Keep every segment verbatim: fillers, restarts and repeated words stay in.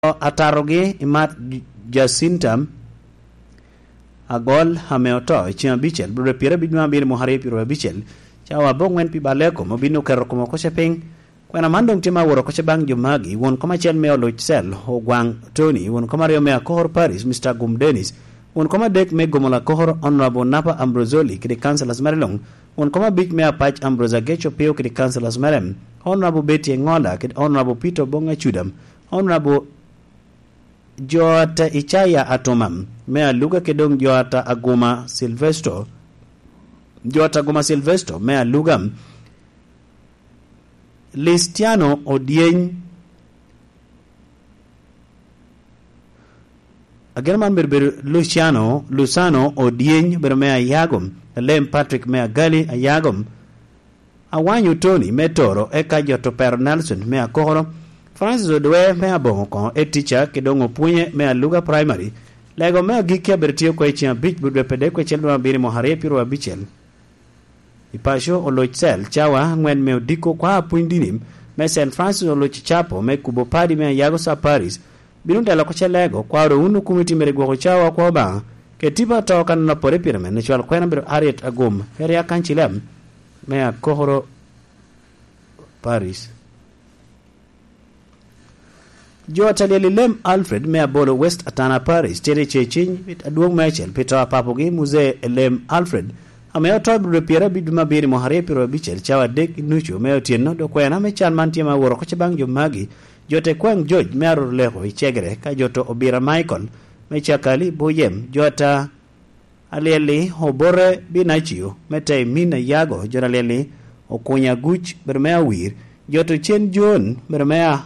Atarogi i mat Jacinta Agol ame oto i ceng abicel, bro pyer abic me abiro mwaka aryo pyer abicel, cawa abongwen pi balekom obin oketo kome oko ce piny. Kwena man doŋ tye ma aworo oko ce baŋ jo magi: won kom acel me oluc cel, Ogwaŋ Tony; won kom aryo me akokoro Paris, Mister Gum Dennis; won kom adek me gomola akokoro, Honorable Napa Ambrosoli kede councillors mere luŋ; won kom abic me apac, Ambrose Ageco Pio kede councillors mere, Honorable Betty Engola kede Honorable Peter Obong Acudam, Honorable Joata Icaya Atuma me Aluga, kede doŋ Joata Aguma Silvestro, Joata Aguma Silvestro me Aluga, Listiano Odyeny, ageno man bedo bedo Luciano, Lusano Odyeny bedo me Ayago, Alem Patrick me Agali Ayago, Awanyo Tony me Toro, eka jo to Pero Nelson me Akokoro, Francis Odwe me Aboŋo koŋo, Etica kede doŋ Opwonye me Aluga Primary. Lego me agikki abedo tye oko i ceng abic, bot dwe pe dek kwecel dwe abiro i mwaka aryo pyer abicel. I paco oloc cel cawa aŋwen me odiko kwa apwony dini me Saint Francis oloc i Capo me kubo padi me Ayago Sir Paris, bino telo oko ce lego kwa oro wun okumiti mere gwoko cawa kwa Obaŋa, ke tipo ato kan anopore pire men icwal kwena bedo Harriet Agum, Area Councillor me Akokoro Paris. Jo a talyel i lem Alfred me Abolo West Atana Paris tye i ceciny adwoŋ me acel pi to a papogi Muzee Elem Alfred, ame oto i bro pyer abic dwe me abiro i mwaka aryo pyer abicel cawa adek i nucu me otyeno. Dok kwena me can man tye ma aworo oko ce baŋ jo magi: jo te kwaŋ George me Aroroleko i Cegere, ka jo to Obira Michael me Cakali Buyem, jo ta alyel-li Obote Binacio me te i Min Ayago, jo alyel-li Okunya Aguc bedo me Awir, jo to Cen John bedo me a,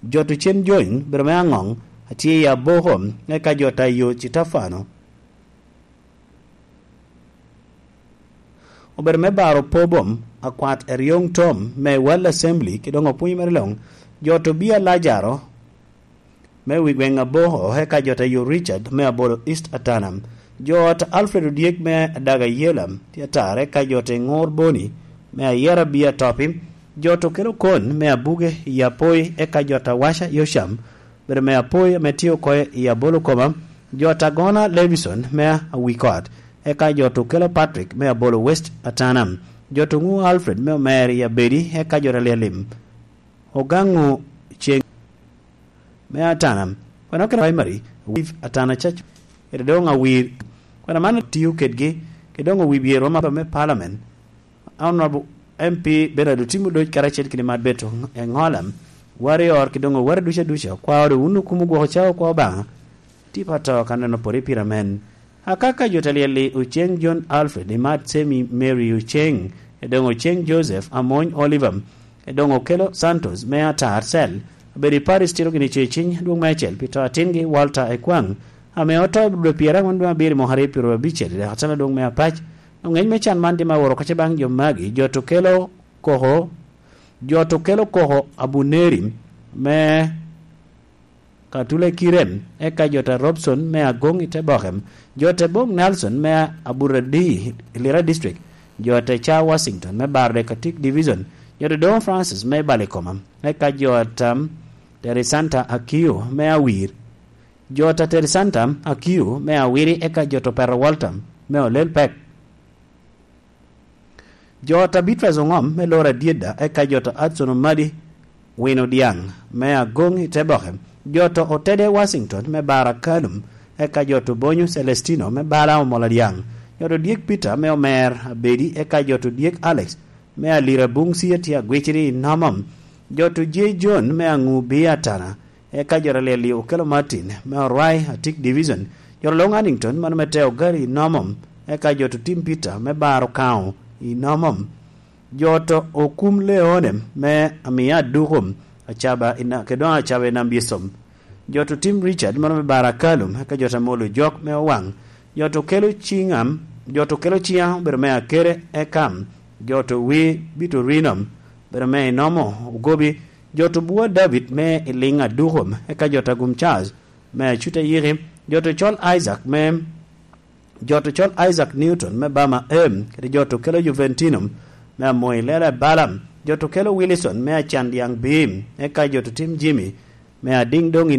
jo to Cen John bedo me Aŋoŋ atye i Aboko, eka jo ta yo Citafano obedo me baro Pobom, akwat Eryoŋ Tom me World Assembly, kede doŋ opwony mere luŋ, jo to Bia Lajaro me wi gweŋ Aboko, eka jo ta yo Richard me Abolo East Atana, jo ta Alfred Odyek me Adaga Yela tye atar, eka jo ta Ŋor Boni me Ayera Bia Topi, jo to kelo Kon me Abuge i Apoi, eka jo ta Waca Yocam bedo me Apoi ame tye oko i Abolo Koma, jo ta Gona Levison me Awikot, eka jo to kelo Patrick me Abolo West Atana, jo to Ŋu Alfred me Omer i Abedi, eka jo ta Lyalim Ogaŋo Ceŋ me Atana, kwena okene Primary, Wif Atana Church, kede doŋ Awir, kwena man tiyo kedgi, kede doŋ Owi Byer Roma me Parliament, Honorable M P Bernard Otim Odoc karacel kede Mat Beto Eŋola, Warrior kede doŋ Owara duca duca, kwa oro wun okumo gwoko cawa kwa Obaŋa, tipo ato kan anopore pire men. Akaka jo ta lyel-li Oceŋ John Alfred, Imat Semi Mary Oceŋ, edoŋ Oceŋ Joseph Amony Oliver, edoŋ Okelo Santos me Atar Cell, abedo i Paris tito gini ceciny adwoŋ me acel pi to atingi Walter Ekwaŋ, ame oto i dwe pyeraŋwen dwe abiro i mwaka aryo pyer abicel i dek atana adwoŋ me apac. Oŋeny me can man tye ma woro oko ce baŋ jo magi: jo to kelo koko, jo to kelo koko Abuneri me Katule Kirem, eka jo ta Robson me Agoŋ i te Bokem, jo ta Bong Nelson me Aburadi i Lira District, jo ta Ca Washington me Barde Katik Division, jo ta Doŋ Francis me Balikoma, eka jo ta Terisanta Akio me Awir, jo ta Terisanta Akio me Awiri, eka jo ta Pero Walter me Olel Pek. Jo ta Beatrice Oŋom me Lora Dyedda, eka jo ta Adson Omadi Wino Dyaŋ me Agoŋ i te Boke, jo ta Otede Washington me Bara Kalum, eka jo ta Obonyo Celestino me Bala Omola Dyaŋ, jo ta Odyek Peter me Omer Abedi, eka jo ta Odyek Alex me Alira Buŋ Cia tye agwiciri i Nomom, jo ta J John me Aŋu Bia Atana, eka jo ta Lyel-li Okelo Martin me Orwai Atik Division, jo ta Long Hannington mano me te Ogari i Nomom, eka jo ta Otim Peter me Baro Kaŋo i Nomom, jo ta Okum Leone me Amia Aduko, Acaba i Na-, kede doŋ Acaba i Nam Byesom, jo ta Otim Richard mano me Baro Akalum, eka jo ta Molo Jok me Owaŋ, jo ta Okelo Ciŋam, jo ta Okelo Ciŋa obedo me Akere Ekam, jo ta Wi Bitorino obedo me Inomo Ogobi, jo ta Obua David me Iliŋ Aduko, eka jo ta Gum Charles me Acuta Yiki, jo ta Ocol Isaac me, jo ta Ocol Isaac Newton me Bama Em, kede jo ta Okelo Juventino me Amoyi Lela Balaam, jo ta Okelo Wilson me Acan Dyaŋ Bim, eka jo ta Otim Jimmy me Adiŋ Doŋ i